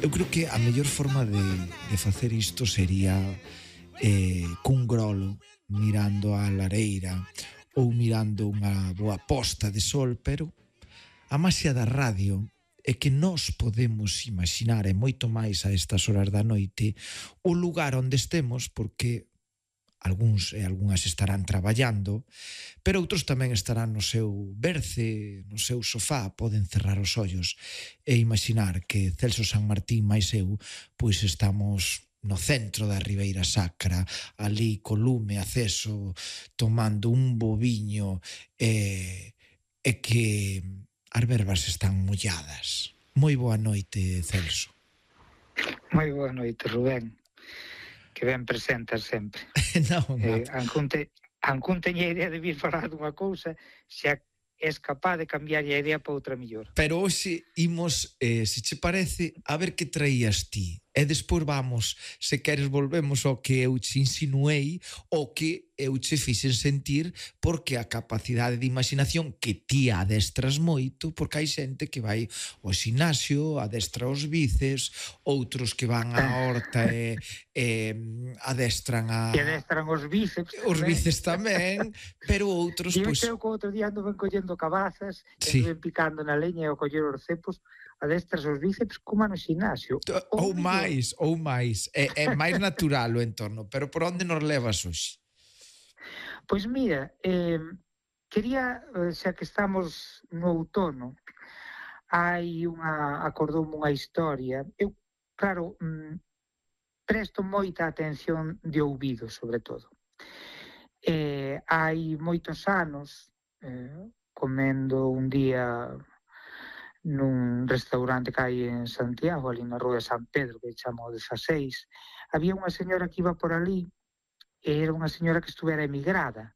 Eu creo que a mellor forma de facer isto sería cun grolo mirando a lareira ou mirando unha boa posta de sol, pero a maxia da radio é que nós podemos imaginar, e moito máis a estas horas da noite, o lugar onde estemos, porque algúns e algunhas estarán traballando, pero outros tamén estarán no seu berce, no seu sofá, poden cerrar os ollos e imaginar que Celso San Martín máis eu, pois estamos no centro da Ribeira Sacra, ali co lume aceso, tomando un boviño e que as verbas están molladas. Moi boa noite, Celso. Moi boa noite, Rubén, que ben presentas sempre. Ancún teña idea de vir falar dunha cousa, xa és capaz de cambiar a idea para outra mellor. Pero hoxe imos, se che parece, a ver que traías ti. E despois vamos, se queres volvemos ao que eu che insinuei, o que eu che fixen sentir, porque a capacidade de imaginación que ti adestras moito, porque hai xente que vai ao xinasio, adestra os bíceps, outros que van á horta e adestran a... E adestran os bíceps. Os bíceps tamén, pero outros... E eu creo que outro día ando ben collendo cabazas, ando ben picando na leña e ao coller os cepos, adestras os bíceps como no xinasio. Ou máis. É máis natural o entorno. Pero por onde nos levas hoxe? Pois mira, quería, xa que estamos no outono, acordoume unha historia. Eu, claro, presto moita atención de ouvido, sobre todo. Hai moitos anos, comendo un día nun restaurante que hai en Santiago, ali na rúa de San Pedro, que chamo 16, había unha señora que iba por ali, e era unha señora que estuvera emigrada,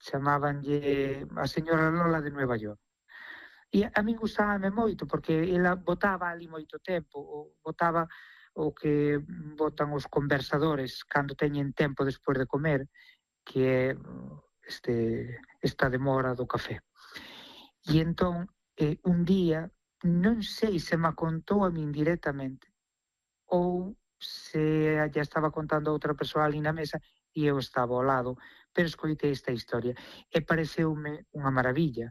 chamábanlle a señora Lola de Nueva York. E a min gustábame moito, porque ela botaba ali moito tempo, botaba o que botan os conversadores cando teñen tempo despois de comer, que é esta demora do café. E entón, un día, non sei se me contou a min directamente ou se ya estaba contando a outra persoa ali na mesa e eu estaba ao lado, pero escoitei esta historia e pareceume unha maravilla,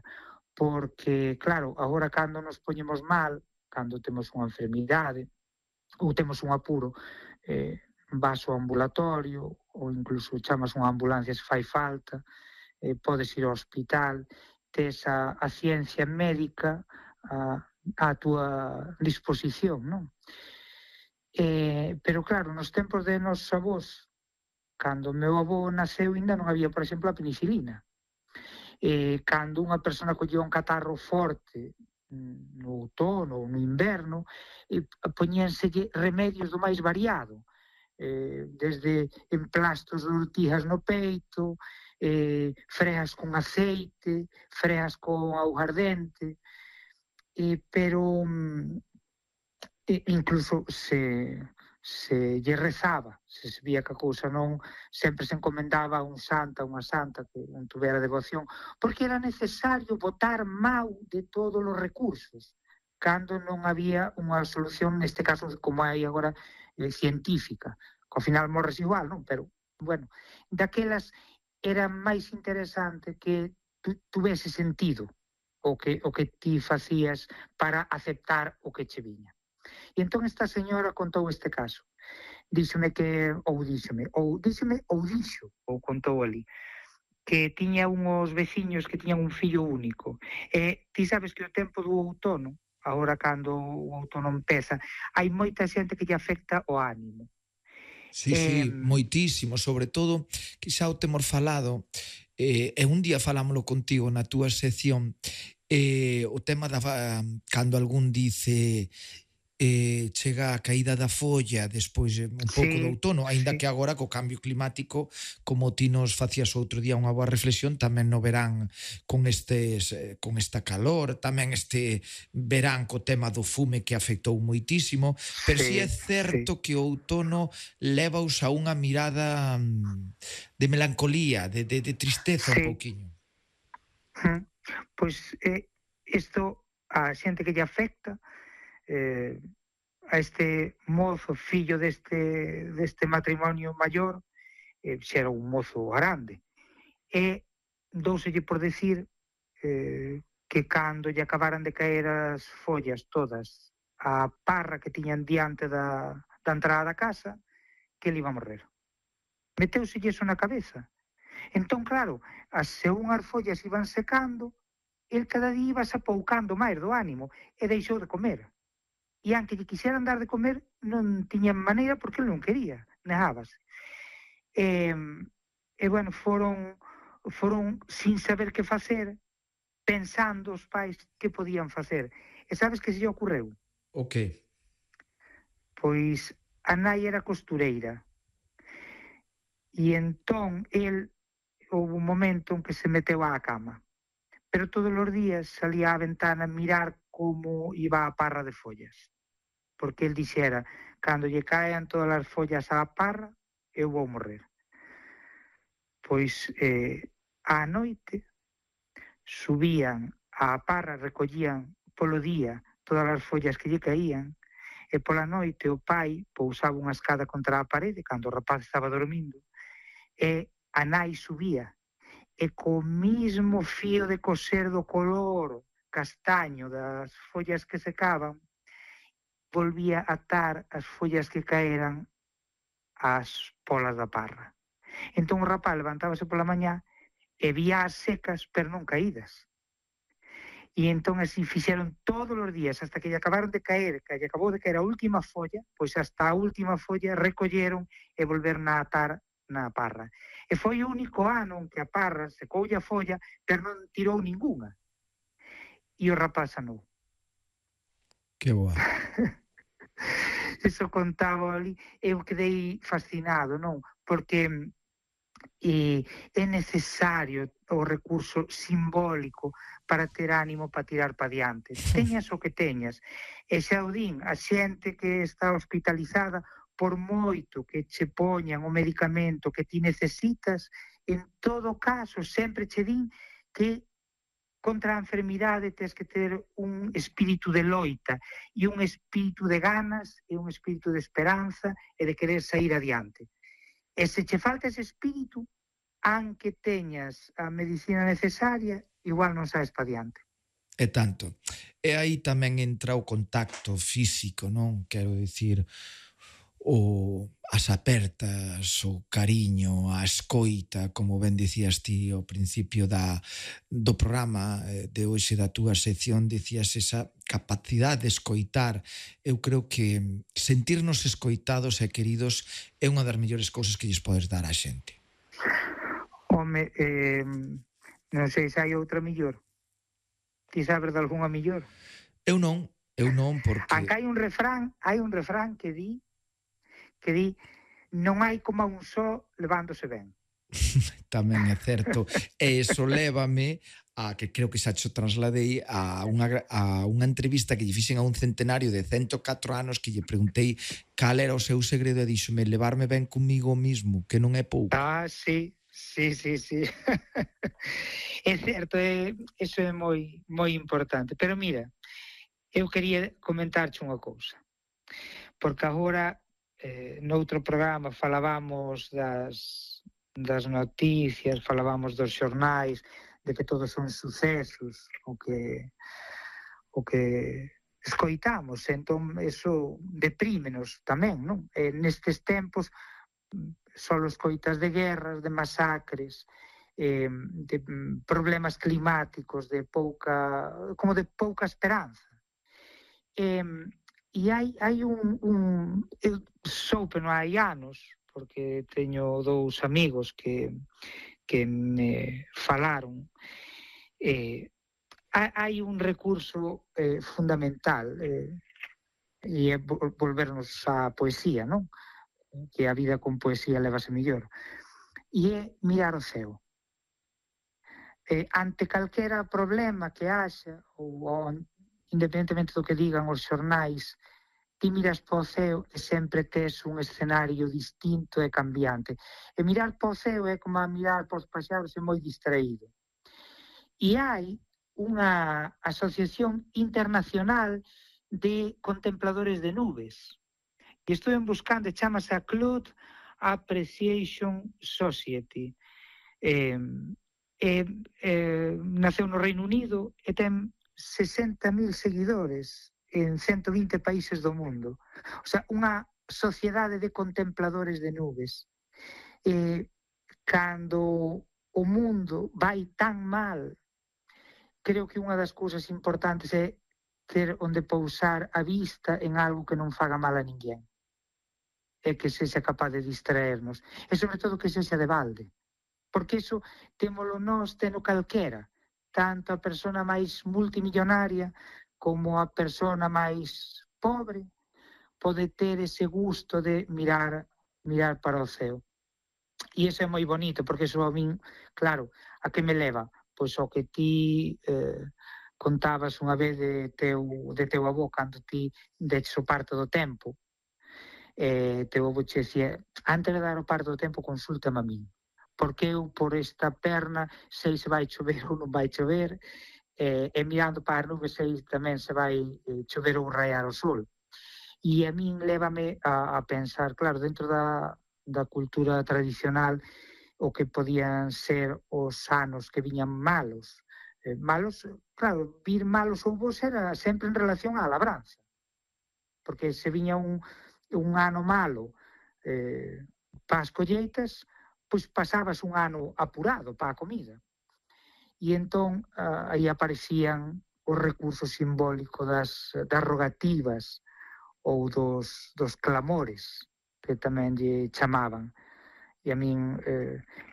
porque, claro, agora cando nos poñemos mal, cando temos unha enfermidade ou temos un apuro, vas ao ambulatorio ou incluso chamas unha ambulancia se fai falta, podes ir ao hospital, tes a ciencia médica a túa disposición, non? Pero claro, nos tempos de nosos avós, cando o meu avó naceu, ainda non había, por exemplo, a penicilina. Cando unha persona collía un catarro forte no outono ou no inverno, poñíanselle remedios do máis variado, desde emplastos de urtijas no peito, freas con aceite, freas con augardente, pero incluso se lle rezaba, se vía que a cousa non, sempre se encomendaba a un santa, unha santa que non tuvera devoción, porque era necesario botar mau de todos os recursos, cando non había unha solución, neste caso, como hai agora, científica, que ao final morres igual, non? Pero, bueno, daquelas era máis interesante que tuvese sentido o que ti facías para aceptar o que che viña. E entón esta señora contou este caso. Díxome, ou contou ali, que tiña unhos veciños que tiñan un fillo único. E ti sabes que o tempo do outono, agora cando o outono empeza, hai moita xente que lle afecta o ánimo. Sí, moitísimo, sobre todo que xa o temos falado, e un día falámoslo contigo na túa sección, o tema da cando algún dice chega a caída da folla despois un pouco do outono, aínda que agora co cambio climático, como ti nos facías outro día unha boa reflexión, tamén no verán con esta calor, tamén este verán co tema do fume que afectou moitísimo, pero si é certo que o outono levaos a unha mirada de melancolía, de tristeza un pouquiño. Pois isto a xente que lle afecta, a este mozo, fillo deste matrimonio maior, xa era un mozo grande, e douselle por decir que cando lle acabaran de caer as follas todas a parra que tiñan diante da entrada da casa, que ele iba a morrer. Meteuselle iso na cabeza. Entón, claro, según as follas iban secando, el cada día iba se apoucando máis do ánimo e deixou de comer. E anque lle quixeran dar de comer, non tiñan maneira porque ele non quería, negábase. E bueno, foron sin saber que facer, pensando os pais que podían facer. E sabes que se lle ocorreu? O que? Pois a nai era costureira. E entón, houve un momento en que se meteu á cama. Pero todos os días salía á ventana a mirar como iba a parra de follas. Porque el dixera, cando lle caen todas as follas á parra, eu vou morrer. Pois á noite subían á parra, recollían polo día todas as follas que lle caían, e pola noite o pai pousaba unha escada contra a parede cando o rapaz estaba dormindo, e a nai subía, e co mismo fío de coser do color castaño das follas que secaban, volvía a atar as follas que caeran ás polas da parra. Entón o rapaz levantábase pola mañá e vía as secas, pero non caídas. E entón así fixeron todos os días, hasta que lle acabaron de caer, que lle acabou de caer a última folla, pois hasta a última folla recolleron e volveron a atar na parra. E foi o único ano en que a parra secoulle a folla, pero non tirou ningunha. E o rapaz sanou. Que boa. Eso contaba ali, eu quedei fascinado, non? Porque é necesario o recurso simbólico para ter ánimo para tirar para diante. Teñas o que teñas. E xa o din, a xente que está hospitalizada, por moito que che poñan o medicamento que ti necesitas, en todo caso, sempre che din que contra a enfermidade tens que ter un espírito de loita e un espírito de ganas e un espírito de esperanza e de querer sair adiante. E se che falta ese espírito, aunque teñas a medicina necesaria, igual non saes para diante. E tanto. E aí tamén entra o contacto físico, non? Quero dicir, as apertas, o cariño, a escoita, como ben dicías ti ao principio do programa de hoxe da túa sección, dicías esa capacidade de escoitar. Eu creo que sentirnos escoitados e queridos é unha das mellores cousas que lles podes dar á xente. Home, non sei se hai outra mellor. Ti sabes de algunha mellor? Eu non, porque... Anca hai un refrán que di non hai como un só levándose ben. Tamén é certo. E iso lévame a que creo que xa xo trasladei a unha entrevista que lle fixen a un centenario de 104 anos que lle preguntei cal era o seu segredo e díxome levarme ben comigo mismo, que non é pouco. Sí. É certo, eso é moi importante. Pero mira, eu quería comentarche unha cousa. Porque agora noutro programa falábamos das noticias, falábamos dos xornais, de que todos son sucesos, o que escoitamos, entón eso deprímenos tamén, non? Nestes tempos só escoitas de guerras, de masacres, de problemas climáticos, de pouca esperanza. E hai eu soupe non hai anos, porque teño dous amigos que me falaron, hai un recurso fundamental, e é volvernos á poesía, non? Que a vida con poesía levase mellor. E é mirar o ceo. Ante calquera problema que haxa, ou independentemente do que digan os xornais, ti miras para o ceo e sempre tes un escenario distinto e cambiante. E mirar para o ceo é como a mirar para os paxaros e moi distraído. E hai unha asociación internacional de contempladores de nubes. E estou buscando, chamase a Cloud Appreciation Society. Naceu no Reino Unido e ten 60.000 seguidores en 120 países do mundo. O sea, unha sociedade de contempladores de nubes. Cando o mundo vai tan mal, creo que unha das cousas importantes é ter onde pousar a vista en algo que non faga mal a ninguén, e que sexa capaz de distraernos, e sobre todo que sexa de balde, porque iso témolo nós, teno calquera, tanto a persona máis multimillonaria como a persona máis pobre pode ter ese gusto de mirar para o ceo. E iso é moi bonito, porque iso a min, claro, a que me leva? Pois ao que ti contabas unha vez de teu avó, cando ti deches o parto do tempo. Teu avó che decía, antes de dar o parto do tempo, consúltame a min, porque eu por esta perna sei se vai chover ou non vai chover, e mirando para as nubes sei tamén se vai chover ou raiar o sol. E a min lévame a pensar, claro, dentro da cultura tradicional, o que podían ser os anos que viñan malos. Malos, claro, vir malos ou bons era sempre en relación á labranza. Porque se viña un ano malo para as colleitas, pois pasabas un ano apurado para a comida. E entón aí aparecían os recursos simbólicos das rogativas ou dos clamores, que tamén lle chamaban. E a min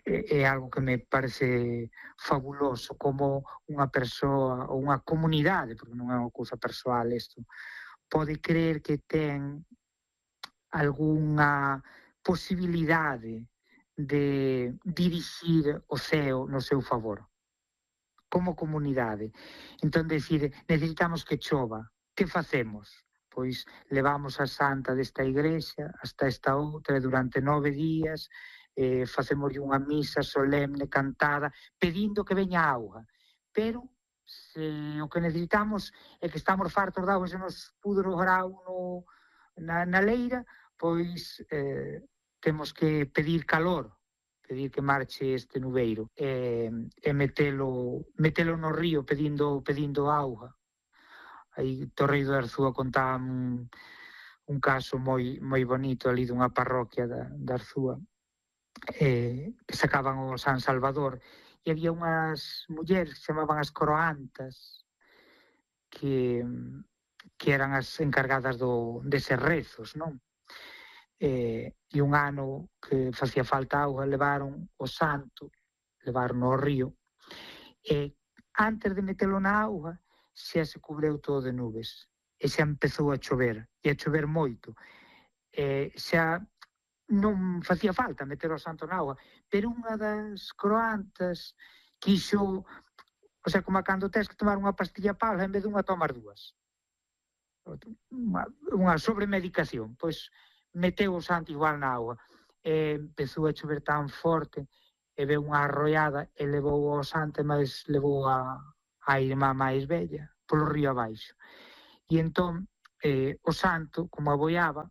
é algo que me parece fabuloso, como unha persoa ou unha comunidade, porque non é unha cousa persoal isto, pode creer que ten algunha posibilidade de dirixir o ceo no seu favor, como comunidade. Entón, decir, necesitamos que chova. Que facemos? Pois levamos a santa desta igrexa hasta esta outra, durante 9 días, facemos unha misa solemne, cantada, pedindo que veña auga. Pero se o que necesitamos é que estamos fartos de auga, se nos pudro o grau na leira, pois temos que pedir calor, pedir que marche este nubeiro, e metelo no río pedindo auga. Aí Torreiro de Arzúa contaba un caso moi bonito ali dunha parroquia da Arzúa, que sacaban o San Salvador, e había unhas mulleres que se chamaban as coroantas, que eran as encargadas deses rezos, non? E un ano que facía falta auga, levaron o santo, levaron ao río, e antes de metelo na auga xa se cubreu todo de nubes, e xa empezou a chover, e a chover moito, e xa non facía falta meter o santo na auga, pero unha das croantas quixo, o sea, como cando tens que tomar unha pastilla pala, en vez de unha tomar dúas, unha sobremedicación, pois meteu o santo igual na auga, e empezou a chover tan forte, e veu unha arroiada e levou o santo, mas levou a irmá máis bella polo río abaixo. E entón o santo, como aboiaba,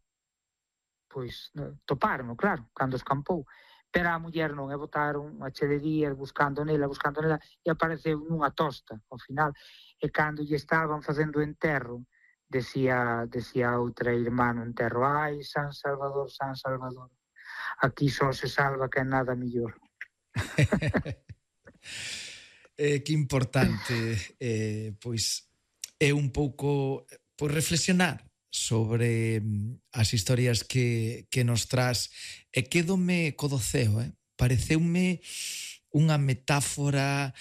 pois toparon, claro, cando escampou, pero a muller non, e botaron a che de días buscando nela, e apareceu nunha tosta ao final, e cando lle estaban facendo o enterro, decía outra irmá no enterro, ai, San Salvador, aquí só se salva que nada mellor. Que importante, pois é un pouco reflexionar sobre as historias que nos traz, e quédome co do ceo, pareceume unha metáfora,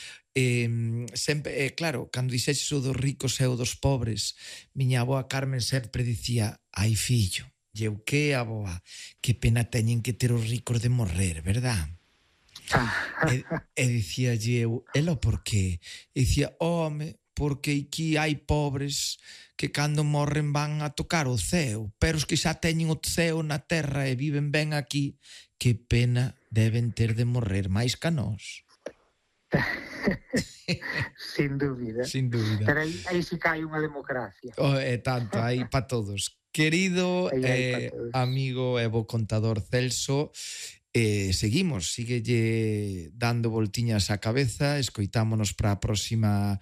sempre, claro, cando dixeches o dos ricos e o dos pobres, miña avoa Carmen sempre dicía, ai fillo, eu que avoa, que pena teñen que ter os ricos de morrer, verdad? E dicía eu, ela por qué? E dicía, home, porque aquí hai pobres que cando morren van a tocar o ceo, pero os que xa teñen o ceo na terra e viven ben aquí, que pena deben ter de morrer máis que a nós. Sin dúbida. Sin dúbida. Pero aí si cae unha democracia. Tanto, aí para todos. Querido amigo e bo contador Celso, síguelle dando voltiñas á cabeza, escoitámonos para a próxima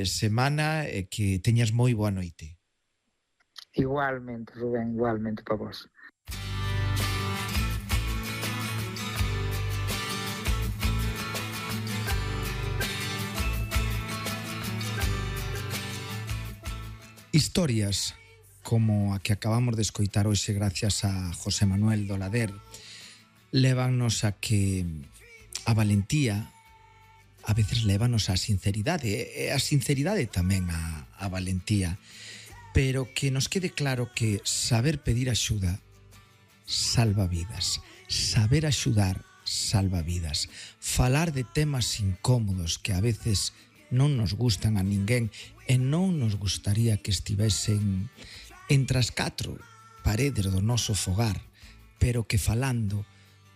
semana e que teñas moi boa noite. Igualmente, Rubén, igualmente para vos. Historias como a que acabamos de escoitar hoxe gracias a José Manuel Dolader lévanos a que a valentía a veces lévanos á sinceridade e a sinceridade tamén a valentía, pero que nos quede claro que saber pedir axuda salva vidas, saber axudar salva vidas, falar de temas incómodos que a veces non nos gustan a ninguén e non nos gustaría que estivesen entre as 4 paredes do noso fogar, pero que falando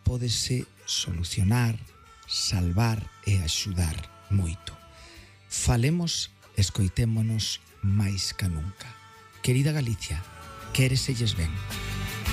pódese solucionar, salvar e axudar moito. Falemos, escoitémonos máis ca nunca. Querida Galicia, quéreselles ben.